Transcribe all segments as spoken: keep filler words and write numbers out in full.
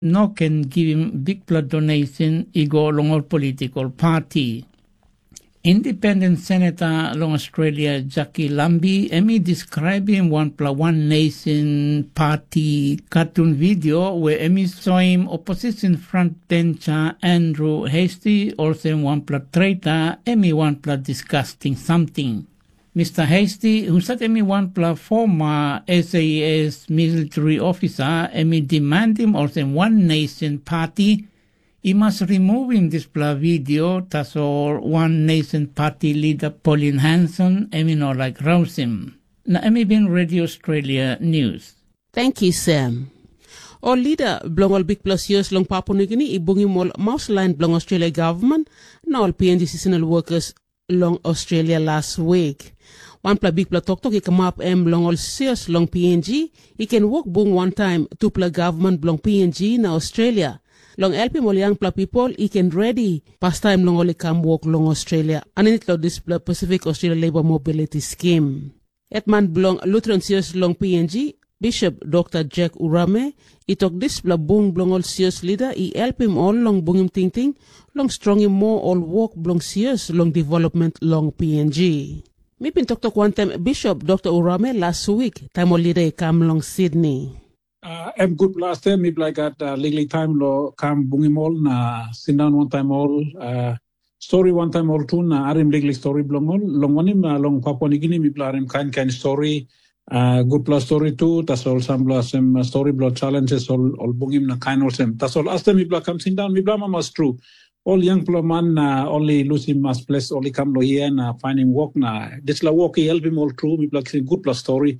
no ken givim bikpela donation i go long ol politikal pati. Independent Senator long Australia, Jackie Lambi, em i describim wanpela One Nation Party katun video where em i soim opposition frontbencher Andrew Hastie olsem wanpela traitor, em i wanpela disgusting something. Mister Hastie, husat em i wanpela former S A S military officer, em i demandim olsem One Nation Party i mas rimuvim dispela video, tasol One Nation Party leader Pauline Hanson em i no laik rausim. Na em i bin Radio Australia News. Thank you, Sam. Ol lida bilong ol bikpela sios long Papua Nugini i bungim ol maus lain bilong Australia gavman na ol P N G seasonal workers long Australia las wik. Wanpela bikpela toktok i kamap em long ol sios long P N G i ken wok bung wantaim tupela gavman bilong P N G na Australia long helpim ol yangpela pipel i ken redi pastaim long ol i kam wok long Australia aninit long dispela Pacific Australia Labour Mobility Scheme. Hetman bilong Lutheran Sios long P N G, Bishop Dokta Jack Urame, i tok dispela bung bilong ol sios lida i helpim ol long bungim tingting long strongim moa ol wok bilong sios long development long P N G. Mi bin toktok wantaim Bishop Dokta Urame las wik taim ol lida i kam long Sydney. Uh, em gutpela astem mipela i gat uh, liklik taim lo kam bungim ol na sindaun wantaim ol uh, stori wantaim ol tu na harim liklik stori bilong ol. Long wanem uh, long Papua Nigini mipela harim kain kain stori, uh, gutpela stori tu, tasol sampela sem uh, stori bilong challenges ol, ol bungim na kain olsem. Tasol astem mipela kam sindaun, mipela amamas tru. Ol yangpela man na ol i lusim mas ples ol i kam lo hia na painim wok na dispela wok i helpim ol tru, mipela kisim gutpela stori.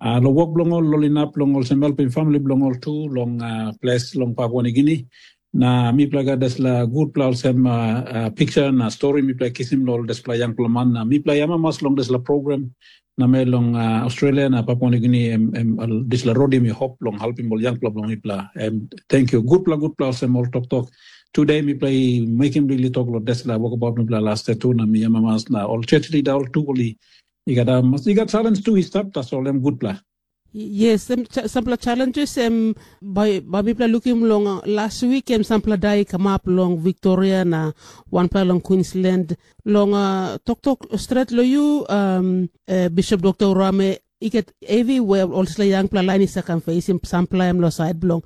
Uh, lo wok bilong ol, ol inap long olsem helpim famili bilong ol tu long uh, ples long Papua Nigini. Na mipela gat dispela gutpela olsem uh, uh, piksa na stori mipela kisim lo ol dispela yangpela man na mipela i amamas long dispela program na me long uh, Australia na Papua Nigini em, em dispela rodim i hop long helpim ol yangpela bilong mipela. Em thank you gutpela gutpela olsem ol toktok. Today mipela i mekim bigli tok lo dispela wokabaut mipela last tu na mi amamas na ol church leader ol tu ol i i gat um, i gat challenge tu i stap tasol em gutpela. Yes, em, cha- sampela challenges em bai bai mipela lukim long uh, last week em sampela dai i kamap long Victoria na wanpela long Queensland. Long uh, toktok stret lo yu um, uh, Bishop Dr. Rame, i get heavy where ol dispela yangpela lain i sakam facing sampela em lo side bilong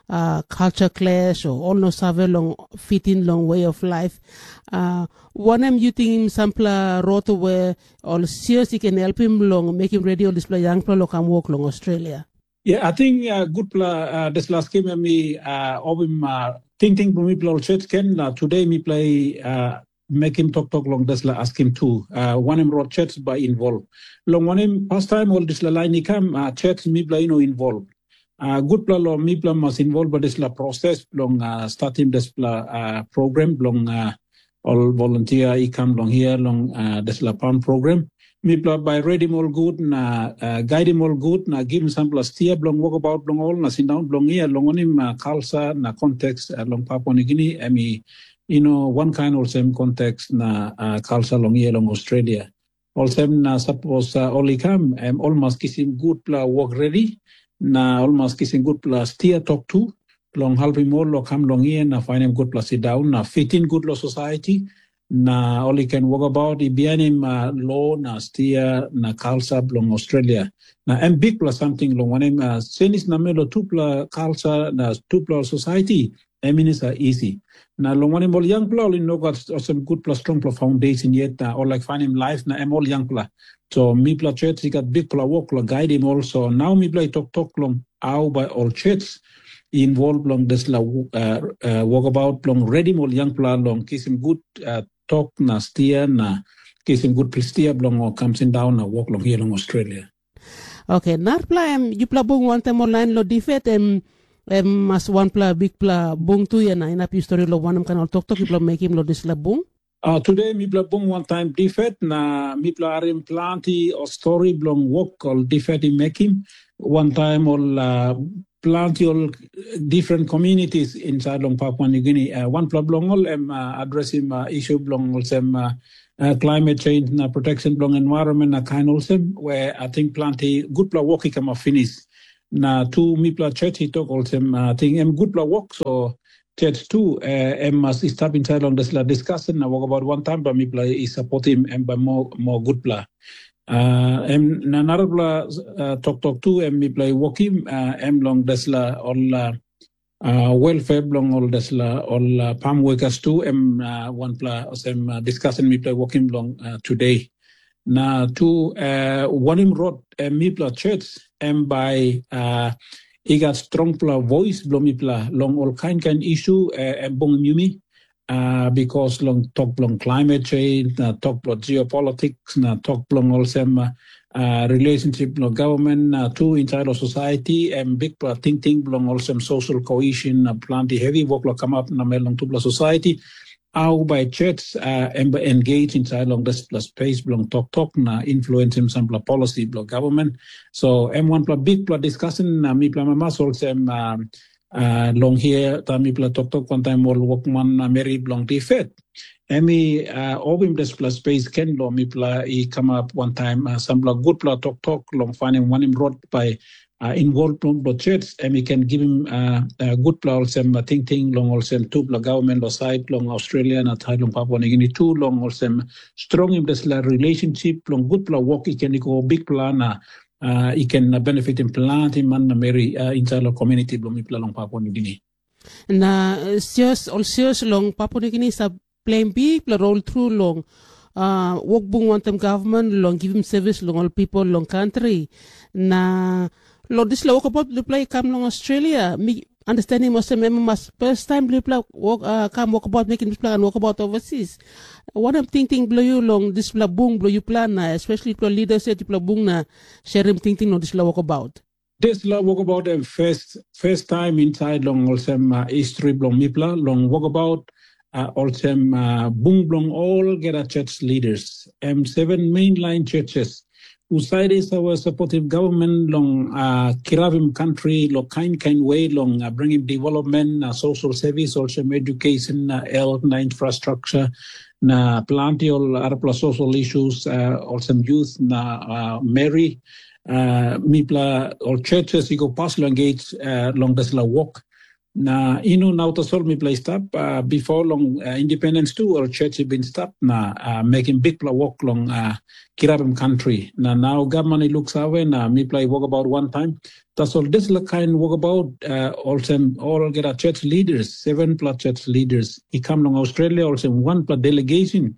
uh, culture clash o ol no save long fit in long way of life. Uh, wanem yu tingim sampela rot we ol sios i ken helpim long mekim redi ol dispela yangpela lo kam wok long Australia? Yeah, I think uh, gutpela uh, dispela skim em i uh, obim uh, tingting bilong mipela ol church ken na today mipela i uh, mekim toktok long dispela askim tu. Uh, wanem rot church bai involve. Long wanem pastaim ol dispela lain i kam uh, church mipela i no involve. Uh, gutpela lo mipela mas involve dispela proses bilong uh, startim dispela uh, program bilong uh, ol volunteer i kam long hia long uh, dispela pan program. Mipela bai redim ol gut na uh, gaidim ol gut na givim sampela stia bilong wokabaut bilong ol na sindaun bilong hia long wanem uh, kalsa na konteks uh, long Papua Nigini em i you know, wankain olsem konteks na uh, kalsa long hia long Australia. Olsem na sapos uh, ol i kam, em ol mas kisim gutpela wok redi, na ol mas kisim gutpela stia tok tu, long helpim ol lo kam long hia na fainim gutpela sindaun na fitin gut lo society, na ol i ken wokabaut i bihainim uh, lo na stia na kalsa bilong Australia. Na em bikpela samting long wanem uh, senis namel lo tupela kalsa na tupela society, em i no sa isi. Na long wanem ol yangpela ol i no gat olsem gutpela strongpela foundation yet na ol laik fainim laip na em ol yangpela. So mipela church i gat bikpela wok long gaidim ol. So nau mipela i toktok long au bai ol church i involve long dispela uh, uh, wokabaut bilong redim ol yangpela long kisim gut uh, tok na stia na kisim gutpela stia bilong ol kam sindaun na wok long hia long Australia. Oke, narapela em yupela bung wantaim ol lain long difet em em mas wanpela bikpela bung tu ya na inap yu stori long wanem kain ol toktok yupela mekim long dispela bung? Uh, today mipela bung wantaim difet na mipela harim planti ol stori bilong wok ol difet i mekim. Wantaim ol uh, planti ol different communities inside long Papua New Guinea. Uh, wanpela bilong ol em uh, adresim uh, isu bilong olsem uh, uh, climate change na protection bilong environment na kain olsem, where I think planti gutpela wok i kamap finis. Na tu mipela church i tok olsem, uh, ting em gutpela wok, so church tu uh, em mas i stap inside long dispela discussion na wokabaut wantaim bai mipela i supportim em bai mo, mo gutpela. Uh, em na narapela uh, toktok tu em mipela i wokim uh, em long dispela ol uh, uh, welfare bilong ol dispela ol uh, palm workers tu em uh, wanpela olsem uh, discussion mipela i wokim long uh, today. Na tu uh, wanem rot uh, mipela church em bai uh, i gat strongpela voice bilong mipela long ol kain kain isu uh, em bungim yumi uh, because long tok bilong climate change na tok bilong geopolitics na tok bilong olsem uh, uh, relationship bilong government na tu inside of society em bikpela tingting bilong olsem social cohesion na planti heavy wok lo kamap na mel long tupela society. Au bai church uh, em bai engage inside long dispela space bilong toktok na influensim sampela policy bilong government. So em wanpela bikpela discussion na mipela mamas olsem um, uh, long hia taim mipela toktok wantaim ol wokman na meri bilong difet. Em i uh, opim dispela space ken long mipela i kamap wantaim uh, sampela gutpela toktok long fainim wanem rot bai uh, involve long bilong church em i ken givim uh, uh, gutpela olsem uh, tingting long olsem tupela government lo side long Australia na side long Papua New Guinea tu long olsem strongim dispela relationship long gutpela wok i ken i go bikpela na uh, i ken uh, benefitim planti man na meri uh, inside long community bilong mipela long Papua New Guinea. Na sios ol sios long Papua Nugini sa pleim bikpela rol tru long uh, wokbung wantaim gavman long givim sevis long ol pipel long kantri. Na long dispela wokabaut bilipela i kam long Australia, mi understandim olsem em mas first time bilipela wok, uh, kam wokabaut mekim dispela kan wokabaut overseas. Wanem tingting bilong yu long dispela bung bilong yupela na especially yupela leaders yet yupela bung na sharim tingting long dispela wokabaut? Dispela wokabaut em first, first time inside long olsem uh, history bilong mipela long wokabaut uh, olsem uh, bung bilong olgeta church leaders. Em seven mainline churches. Usait is our supportive government long uh, kirapim country lo kain kain way long uh, bringim development, uh, social service, also education, uh, health, na infrastructure, na planti ol arapela social issues, uh, olsem youth na uh, Mary. Uh, mipela ol churches i go pas long engage uh, long dispela wok. Na inu nau tasol mipela i stap uh, before long uh, independence tu ol church i bin stap na uh, mekim bikpela wok long uh, kirapim country. Na nau gavman i luksave na mipela i wokabaut wantaim. Tasol dispela kain wokabaut uh, olsem olgeta church leaders, sevenpela church leaders i kam long Australia olsem wanpela delegation,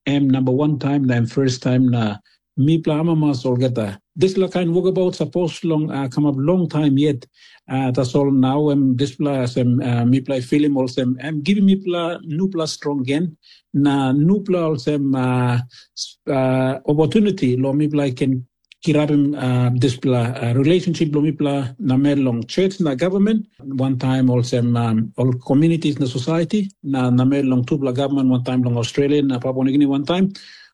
em namba wan taim na em first taim na mipela amamas olgeta. Dispela kain wokabaut sapos long uh, kamap long taim yet. Uh, tasol nau em dispela sem uh, mipela i filim olsem em givim mipela nupela strong gen na nupela olsem uh, uh, opportunity lo mipela i ken kirapim uh, dispela uh, relationship lo mipela na mel long church na government, one time olsem um, ol communities na society na na mel long tupela government one time long Australia na Papua New Guinea one time,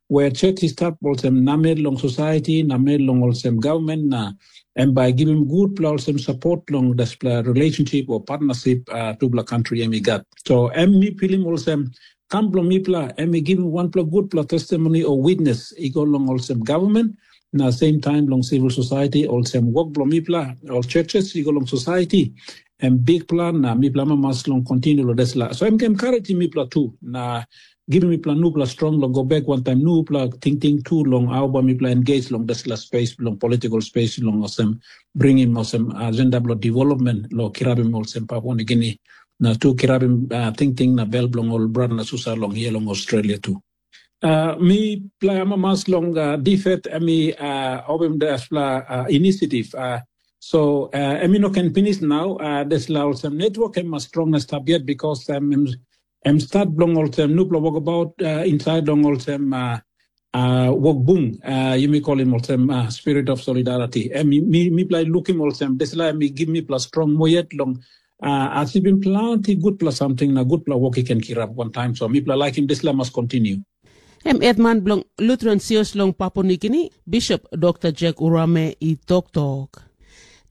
where church i stap olsem namel long society, namel long olsem government na em bai givim gutpela olsem support long dispela relationship o partnership uh, tupela country em i gat. So em mi pilim olsem kam bilong mipela em i givim wanpela gutpela testimony o witness i go long olsem government na same time long civil society olsem wok bilong mipela ol churches i go long society em bikpela na mipela mamas long continue long dispela. So em ken encouraging mipela tu na givim mipela nupela strong long go bek wantaim nupela tingting tu long au bai mipela engage long dispela space bilong political space long olsem bringim olsem agenda bilong development lo kirabim olsem Papua New Guinea na tu kirabim uh, tingting na bel bilong ol brata na susa long hia long Australia tu. Uh, mi plai amamas long uh, difet em i uh, obim dispela uh, initiative. Uh, so uh, em i no ken pinis nau uh, dispela olsem network em mas strong na stap yet because um, em, em start bilong olsem nupela wokabaut uh, inside long olsem uh, uh, wok bung uh, yumi kolim olsem uh, spirit of solidarity. Em mi, mi plai lukim olsem dispela em i give mipela strong mo yet long uh, as i bin planti gutpela samting na gutpela wok i ken kirap wantaim, so mipela laikim dispela mas kontinu. Em hetman bilong Lutheran Sios long Papua Nugini, Bishop Dr. Jack Urame i toktok.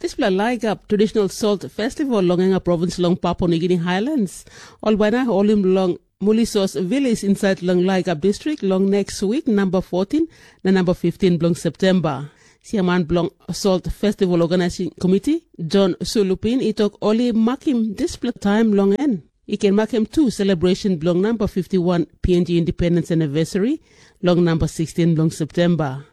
Dispela Laigap Traditional Salt Festival long Enga Province long Papua Nugini Highlands, ol bai na holim long Mulisos Village inside long Laigap District long next week number fourteen na number fifteen bilong September. Siaman bilong Salt Festival Organizing Committee, John Sulupin, i tok ol i makim dispela taim long en i ken makim tu celebration bilong namba fifty one P N G Independence Anniversary long namba sixteen bilong September.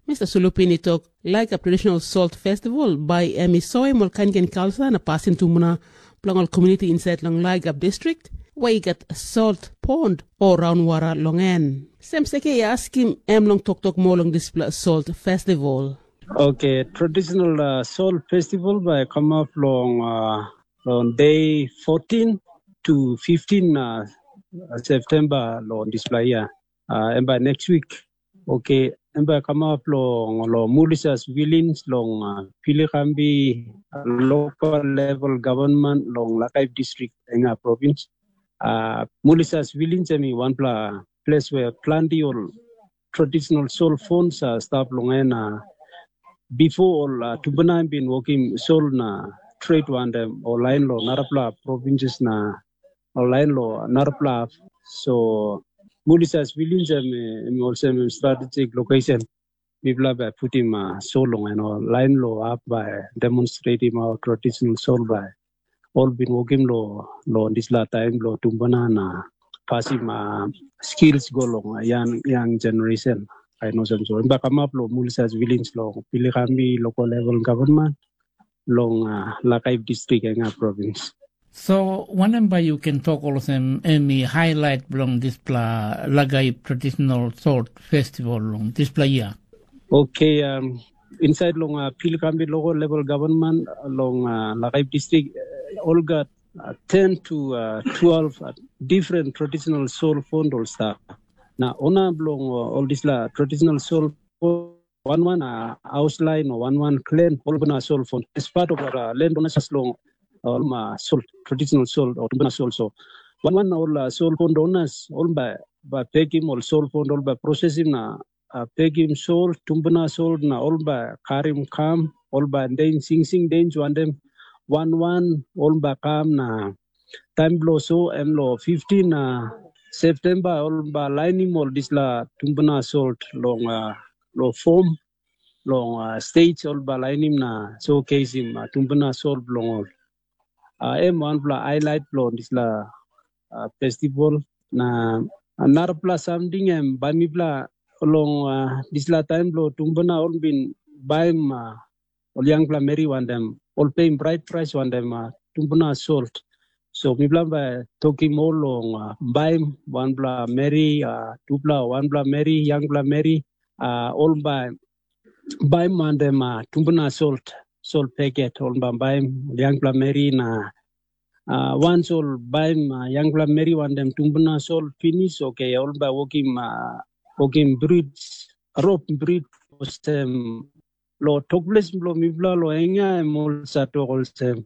Mister Sulupin i tok, laik a traditional Salt Festival bai em i soim ol kainkain kalsa na pasin tumbuna bilong ol komuniti insait long Laigap distrik, we i gat salt pond o raunwara long en. Sem seke i askim em long toktok moa long dispela Salt Festival. Okay, traditional uh, Salt Festival bai come up long uh, on day fourteen to fifteen uh, September long dispela year. Uh, and by next week, okay, and by come up long, long Mulisas Village long uh, Pilikambi uh, local level government long Lakai district in our province. Uh, Mulisas Village em i wanpela place where plenty ol traditional soul phones uh, stap long en uh, before ol uh, tumbuna bin wokim soul na trade wantaim ol lain lo narapela provinces na ol lain lo narapela. So Mulisas Village em, em olsem em strategic location. Mipela bai putim uh, soul long en ol lain lo ap bai demonstratim our traditional soul bai ol bin wokim lo lo dispela taim lo tumbuna na pasim uh, skills go long uh, young young generation. I know some so. Ba kamap lo Mulisas Village lo Pilikami local level government long uh, Lakai district enga province. So wanem bai yu ken tok olsem em i highlight bilong dispela Lagai traditional salt festival long dispela year? Okay, um, inside long uh, Pilikami local level government uh, long uh, Lakai district, uh, all got uh, ten to uh, twelve uh, different traditional soul fund all staff. Na ona bilong uh, all dispela traditional soul fund one one uh, house line or one one clan all bana soul fund as part of uh, land owners long all ma soul traditional soul or bana soul so one one all uh, soul fund owners all by by pekim all soul fund all by processing na uh, pekim soul tumbuna soul na all by karim kam all by den sing sing den juandem one one all by kam na taim bilong so em long fifteen uh, Septemba ol ba lainim ol dispela tumbuna salt long uh, long fom long uh, stage ol ba lainim na showcaseim uh, tumbuna salt bilong ol. Uh, em wanpela highlight bilong dispela uh, festival na uh, narapela samting em bai mipela long uh, dispela taim bilong tumbuna ol bin baim uh, ol yangpela meri wantaim ol peim brait prais wantaim uh, tumbuna salt. So mipela bai tokim ol long uh, baim wanpela meri, uh, tupela wanpela meri, yangpela meri, uh, ol bai baim wantaim uh, tumbuna salt, salt paket, ol bai baim ol yangpela meri na uh, wans ol baim uh, yangpela meri wantaim tumbuna salt pinis, oke, ol bai wokim uh, wokim brit, rop brit olsem lo tokples bilong mipela lo enga em ol sa tok olsem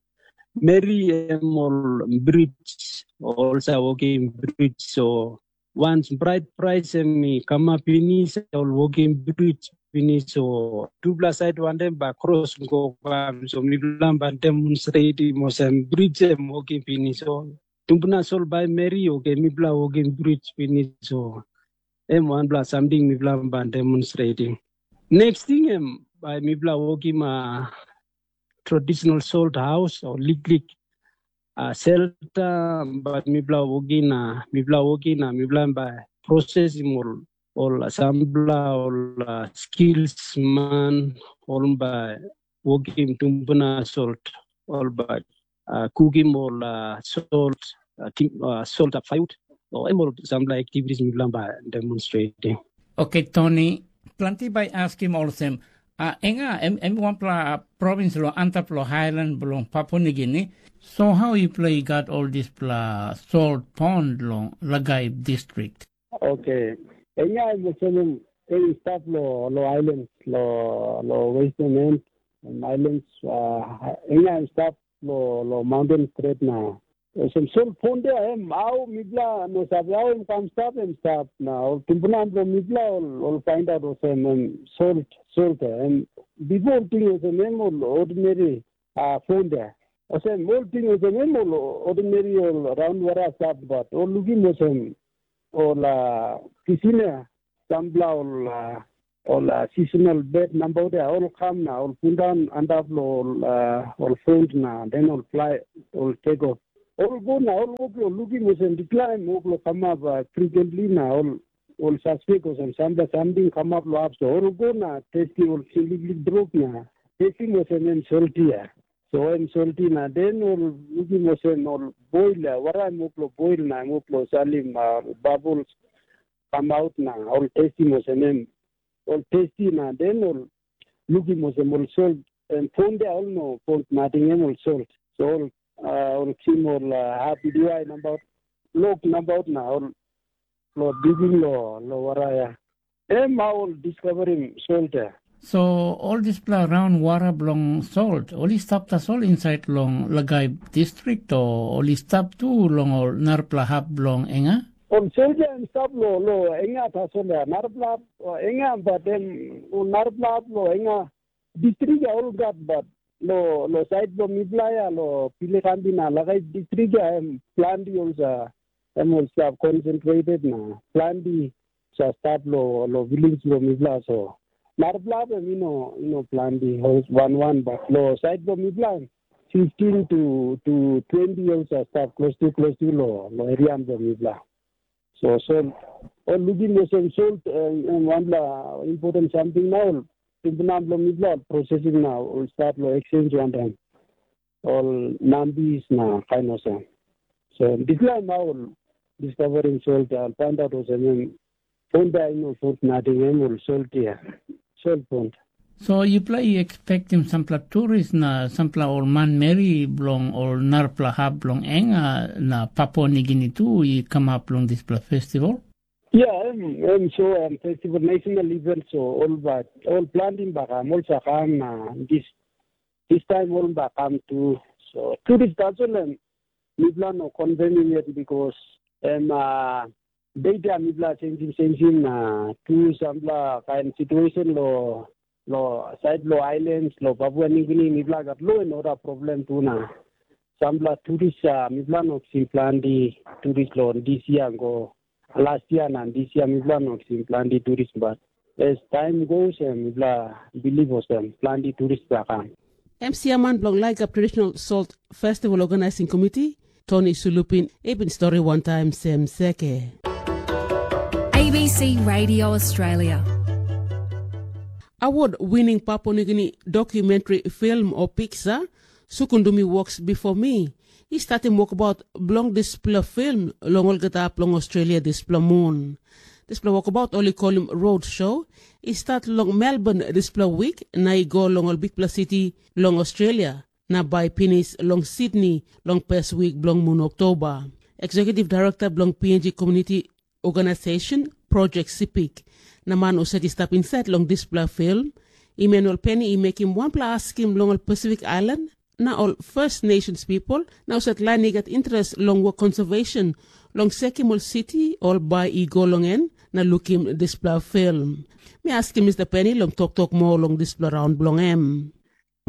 meri em ol brits ol sa wokim brits so wans brait prais em i kamap pinis ol wokim brits pinis so tupela sait wantaim ba kros go kam so mipela ba demonstretim olsem brits em wokim pinis so tumbuna sol bai meri oke mipela wokim brits pinis so em wanpela samting mipela ba demonstretim. Next thing em bai mipela wokim uh, traditional salt house o liklik uh, shelter but mipela wokim na mipela wokim na mipela bai processing ol ol sampela ol uh, skills man ol bai wokim tumbuna salt ol bai uh, kukim ol uh, salt uh, tim, uh, salt up firewood o em ol sampela activities mipela bai demonstrating. Okay, Tony, planti bai askim olsem, uh, enga em, em wanpela province lo antap lo highland bilong Papua New Guinea. So how you play got all dispela salt pond long Lagai district? Okay. Enga em olsem em em i stap lo lo island lo lo western end em islands uh, enga em stap lo lo mountain stret na olsem sol pond ya em au mipela no save au em kam stap em stap na ol tumbuna bilong mipela ol ol find out olsem em salt salt em bipo ol ting olsem em ol ordinary uh, pond ya olsem ol ting olsem em ol ordinary ol raun wara stap bat ol lukim olsem ol uh, kisin ya sampela ol uh, ol uh, seasonal bird nabaut ya ol kam na ol pundaun antap lo ol, uh, ol front na den ol fly ol take off. Ol go na ol go lo lukim olsem decline ol go kamap uh, frequently na ol ol suspect olsem sampela samting kamap lo hap so ol go na testim ol liklik drop na testim olsem em soltia. So em solti na den ol lukim olsem ol boil ya wara em ol boil na em ol salim uh, bubbles kamaut na ol testim olsem em ol testi na den ol lukim olsem ol sol em fon dia ol no fon nating em ol sol. So ol uh, ol kim ol uh, hapi diwai nabaut lok nabaut na ol lo digim lo lo wara ya. Em ol diskaverim sol dia. So ol dispela raun wara bilong salt, ol i stap tasol insait long Lagai distrik, o ol i stap tu long ol narapela hap bilong enga? Ol soldia em stap lo lo enga tasol ya. Narapela hap o enga bat em ol narapela hap lo enga distrik ya ol gat bat lo lo sait bilong mipela ya lo Pilekambi na Lagai distrik ya em planti ol sa em ol stap concentrated na planti sa stap lo lo village lo mipela so. Narapela hap em ino ino planti wan wan bat lo sait bilong mipela fifteen to to twenty years a stap klostu klostu lo lo eria bilong mipela. So so ol lukim olsem sol em wanpela important samting na ol tumbuna bilong mipela ol processing na ol start lo exchange wantaim ol nambis na kain olsem. So dispela na ol discovering sol ol paindaut olsem em Punda i no sot nating em ol soltia, sol punda. So yupela i expectim sampela turis na sampela ol manmeri bilong ol narapela hap bilong enga na Papua Nigini tu i kamap long dispela festival? Ya, em, em so em festival national event so ol ba ol planting ba kam ol sa kam na dis dis time ol ba kam tu. So turis tasol em mipela no confirming yet because em uh, data mipela changing changing na tu sampela kain situation lo lo side lo islands lo Papua New Guinea mipela gat lo and order problem tu na sampela turis uh, mipela no kisim planti turis lo this year go last year na this year mipela no kisim planti turis but as time goes and mipela believe olsem planti turis ba kam. Em siaman bilong Laigap Traditional Salt Festival Organizing Committee, Tony Sulupin, i bin stori wantaim sem seke. A B C Radio Australia. Award winning Papua New Guinea documentary film o piksa, Sukundumi Walks Before Me, i statim wokabaut bilong dispela film long olgeta hap long Australia dispela mun. Dispela wokabaut ol i kolim road show, i stat long Melbourne dispela wik na i go long ol bikpela siti long Australia, na bai pinis long Sydney long pes wik bilong mun Oktoba. Executive Director bilong P N G Community Organization, Project Sipik, na man husat i stap insait long dispela film, Emmanuel Penny i mekim wanpela askim long ol Pacific Island na ol First Nations people, na husat lain i gat interes long wok conservation long sekim ol siti ol bai i go long en na lukim dispela film. Mi askim Mr. Penny long toktok moa long dispela raun bilong em.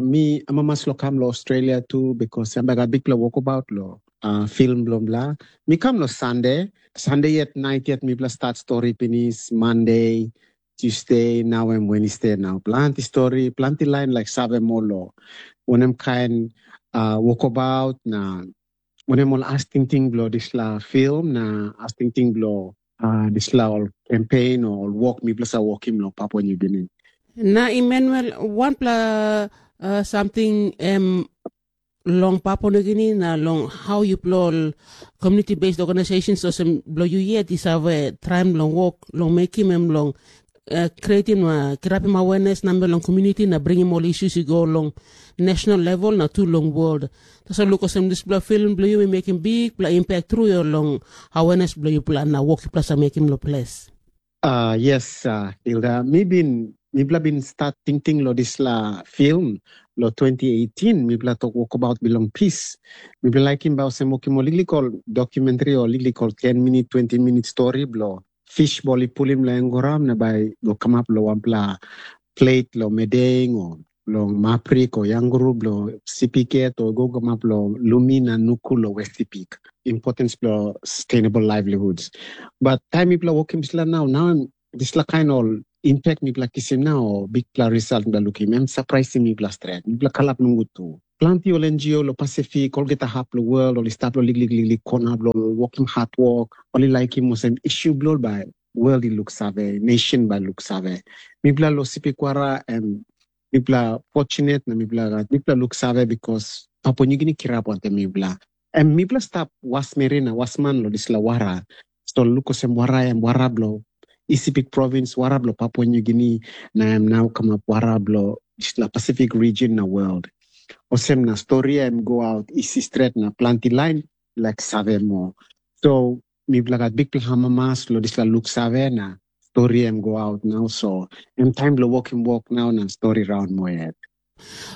Mi amamas lo kam lo Australia tu because em bai gat bikpela wokabaut lo uh, film bilong bla. Mi kam lo Sunday. Sunday yet night yet mipela start story pinis Monday, Tuesday, nau em Wednesday nau. Planti story, planti lain like save moa lo wanem kain uh, wokabaut na wanem ol as tingting bilong dispela film na as tingting bilong uh, dispela ol campaign o ol wok mipela sa wokim long Papua New Guinea. Na Emmanuel, wanpela uh, samting em long Papua New Guinea na long hau yupela ol community based organizations olsem bilong yu yet i save traim long wok long mekim em long uh, creating na kirapim awareness namel long community na bringim ol issues i go long national level na tu long world. Tasol luk olsem dispela film bilong yu i mekim bikpela impact tru long awareness bilong yupela na wok yupela sa mekim long ples. Uh, yes, uh, Hilda, mi bin mipela bin start tingting lo dispela film lo twenty eighteen mipela tok wokabaut bilong peace. Mipela laikim bai olsem wokim ol liklikol documentary o liklikol ten minute, twenty minute story bilong fish ol i pulim long engoram na bai go kamap long wanpela plate long medeng o long maprik o yanguru bilong sipiket o go kamap long lumi na nuku long westipik. Importance bilong sustainable livelihoods. But taim mipela wokim dispela nau, nau dispela kain ol impact mipela kisim na o bikpela result mipela lukim, em surprisim mipela stret. Mipela kalap nogut tu. Planti ol N G O lo Pasifik, olgeta hap lo world, ol i stap lo liklik liklik kona bilong ol wokim hatwok, ol i laikim olsem issue bilong ol bai world i luksave, nation bai luksave. Mipela lo Sipikwara, em mipela fortunate na mipela gat mipela luksave because Papua New Guinea kirap wantaim mipela. Em mipela stap wasmeri na wasman lo dispela wara. So luk olsem wara em wara bilong Isipik provins, wara bilong Papua New Guinea, na em nau kamap wara bilong dispela Pacific region na world. Olsem na stori em go out isi stret na planti lain laik save moa. So mipela gat bikpela amamas lo dispela luksave na stori em go out nau. So em taim bilong wokim wok nau na stori raun moa yet.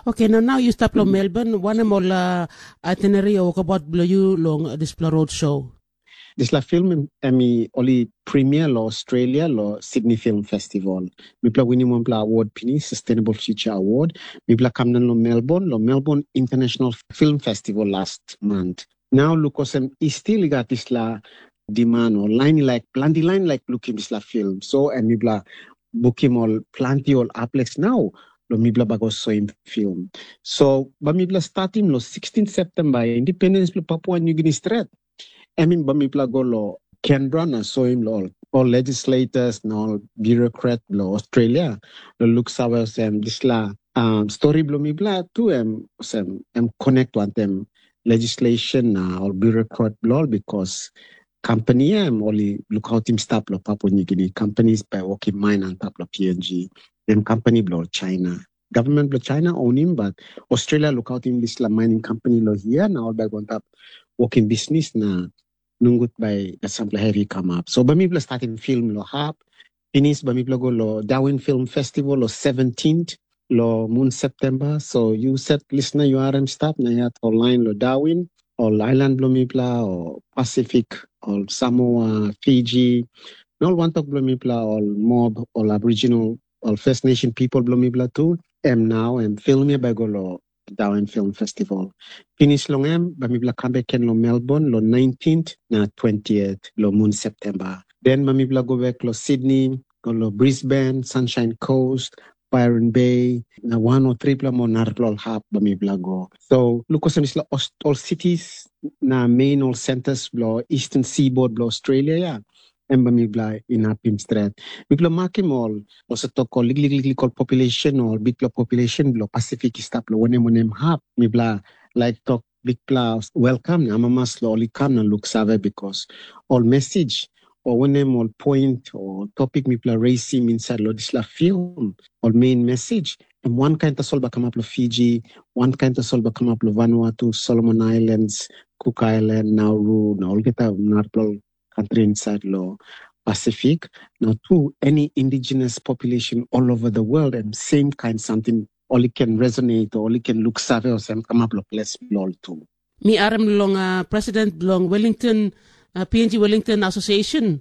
Okay, now now you stop lo Melbourne. One of all uh, itinerary or about below you long uh, this road show. Dispela film em i oli premier lo Australia lo Sydney Film Festival. Mipela winim wanpela award pinis, Sustainable Future Award. Mipela kam nan lo Melbourne, lo Melbourne International Film Festival last month. Nau luk olsem i stil i gat dispela demand o lain i laik planti lain laik lukim dispela film. So em mipela bukim ol planti ol aples nau lo mipela bai go soim film. So bai mipela statim lo sixteen September, independence bilong Papua New Guinea stret. Em in bai mipela go lo Canberra na soim lo ol, ol legislators na ol bureaucrat bilong Australia lo luk save olsem dispela um, stori bilong mipela tu em olsem em connect wantaim legislation na ol bureaucrat bilong ol because company em ol i lukautim stap lo Papua New Guinea. Companies bai wokim mine antap lo P N G, em company bilong China. Government bilong China onim, but Australia lukautim dispela mining company lo hia na ol bai go antap wokim bisnis na nungut bai sampela hevi kamap. So bai mipela statim film lo hap, pinis bai mipela go lo Darwin Film Festival lo seventeenth lo mun September. So yu set listener yu harim stap na yat online lo Darwin, ol island bilong mipela o Pacific, ol Samoa, Fiji, na ol wantok bilong mipela ol mob, ol Aboriginal, ol First Nation people bilong mipela tu. Em nau em film ya bai go lo Darwin Film Festival. Pinis long em, bai mipela kam bek ken long Melbourne long nineteenth na twentieth long mun September. Then bai mipela go bek long Sydney, go long Brisbane, Sunshine Coast, Byron Bay, na wan o tripela mo narapela ol hap bai mipela go. So luk olsem dispela ol cities na main ol centers bilong Eastern Seaboard bilong Australia ya, em bai mipela inapim stret. Mipela makim ol olsem tok ol liklik liklik ol population o ol bikpela population bilong Pasifik i stap long wanem wanem hap. Mipela laik tok bikpela welkam na amamas long ol i kam na luksave, bikos ol mesij o wanem ol point o topik mipela reisim insait long dispela film, ol main mesij, em wankain tasol bai kamap long Fiji, wankain tasol bai kamap long Vanuatu, Solomon Islands, Cook Island, Nauru, na olgeta narapela ol kantri insait long Pasifik. Na tu any indigenous population all over the world, em same kain samting ol i ken resonate o ol i ken luksave olsem kamap long ples bilong ol tu. Mi harim long uh, president bilong Wellington, uh, P N G Wellington Association,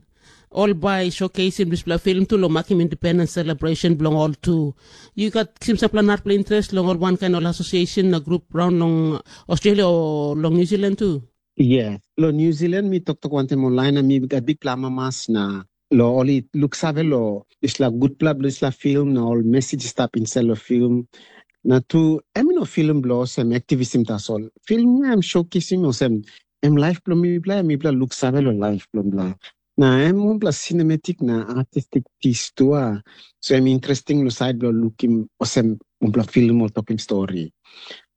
ol bai showcaseim dispela film tu long makim independence celebration bilong ol tu. Yu gat kisim sampela narapela interest long ol wankain ol association na grup raun long Australia o long New Zealand tu? Yes, long New Zealand mi toktok wantaim ol lain na mi gat bikpela amamas na lo ol i luksave lo dispela gutpela bilong dispela film na ol mesij i stap insait long film. Na tu em i no film bilong olsem aktivism tasol. Film ya em showcasing olsem em laip bilong mipela, mipela luksave long laip bilong mipela. Na em wanpela cinematic na artistic piece tu a. So em interesting long sait bilong lukim olsem wanpela film ol tokim stori.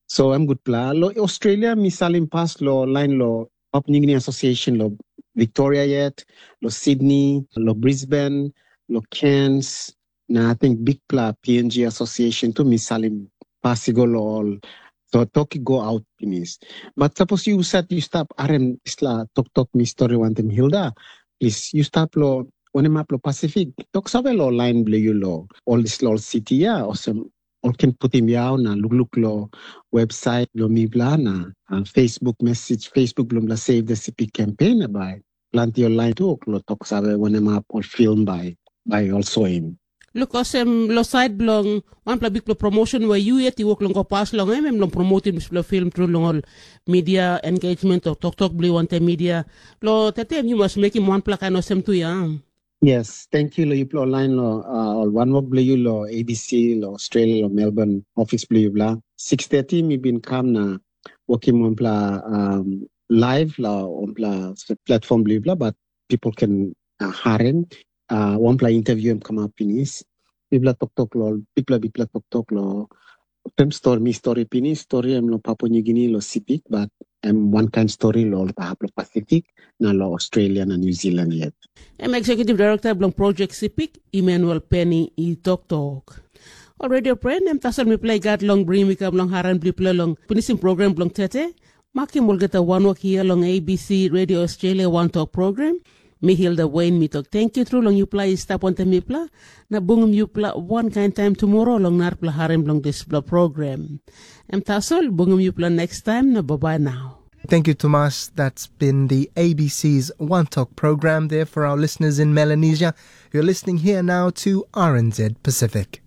So em gutpela. Lo Australia mi salim pas lo lain lo Papua New Guinea Association lo Victoria yet, lo Sydney, lo Brisbane, lo Cairns, na I think bikpela P N G Association tu mi salim pas i go lo ol. So tok i go out pinis. But sapos yu sat yu stap harim dispela toktok mi stori wantaim Hilda, plis yu stap lo wanem hap lo Pasifik, tok save lo lain bilong yu lo ol dispela ol siti ya, olsem ol ken putim yau na lukluk long websait bilong mipela na uh, Facebook message, Facebook bilong mipela Save the City campaign na bai planti ol lain tu ol tok save wanem hap ol film bai bai ol soim. Luk olsem long sait bilong wanpela bikpela promotion we yu yet i wok long go pas long em, em long promotim dispela film tru long ol media engagement o toktok bilong wantaim media. Long tete em yu mas mekim wanpela kain olsem tu ya. Yes, thank you lo yupela online lo uh, ol wanwok bilong yu lo A B C lo Australia lo Melbourne office bilong yupela. Six thirty mi bin kam na working wanpela um, live lo wanpela platform bilong yupela, but people can uh, harim uh, wanpela interview em come up finish. Bibla toktok lo bibla bibla toktok lo tem story mi story pinis story em lo Papua New Guinea lo Sipik, but em one kind story lo ol tahap lo Pacific na lo Australia na New Zealand yet. Em Executive Director bilong Project Sipik, Emmanuel Penny i toktok. Ol radio pren em tasol mipela i gat long bringim i kam long haran bilipela long pinisim program bilong tete. Makim olgeta wanwok hia long A B C Radio Australia One Talk program. Mi Hilda Wayne mi tok tenkyu tru long yupela i stap wantaim mipela, na bungim yupela wankain taim tumora long narapela harim bilong dispela program. Em tasol bungim yupela next time na bye bye now. Thank you, Tomas. That's been the A B C's One Talk program there for our listeners in Melanesia. You're listening here now to R N Z Pacific.